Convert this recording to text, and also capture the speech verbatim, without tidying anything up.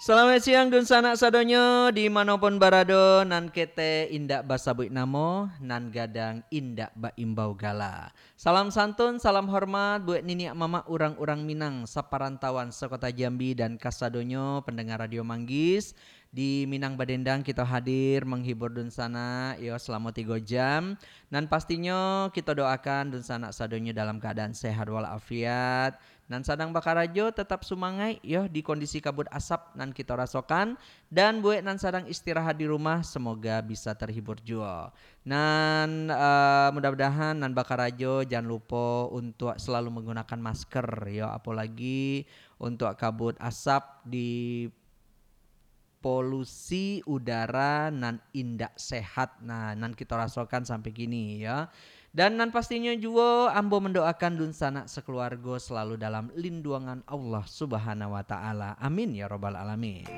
Salamaik siang dunsanak sadonyo, di mano pun barado, nan ketek indak basabuik namo, nan gadang indak baimbau gala. Salam santun, salam hormat buek niniak mamak urang-urang Minang saparantauan sakota Jambi dan kasadonyo pandanga Radio Manggis. Di Minang Badendang kito hadir manghibur dunsanak yo salamo tigo jam. Nan pastinyo kito doakan dunsanak sadonyo dalam kaadaan sehat walafiat. Nan sadang bakarajo, tatap sumangaik yo di kondisi kabut asap nan kito rasokan, dan buek nan sadang istirahat di rumah, semoga bisa terhibur juo. Nan, eh, mudah-mudahan nan bakarajo jan lupo untuak selalu menggunakan masker yo, apolagi untuak kabut asap di polusi udara nan indak sehat, nah, nan kito rasokan sampai kini, ya. Dan nan pastinyo juo, ambo mandoakan dunsanak sakeluargo selalu dalam linduangan Allah Subhanahu wa Ta'ala. Amin, ya Rabbal Alamin.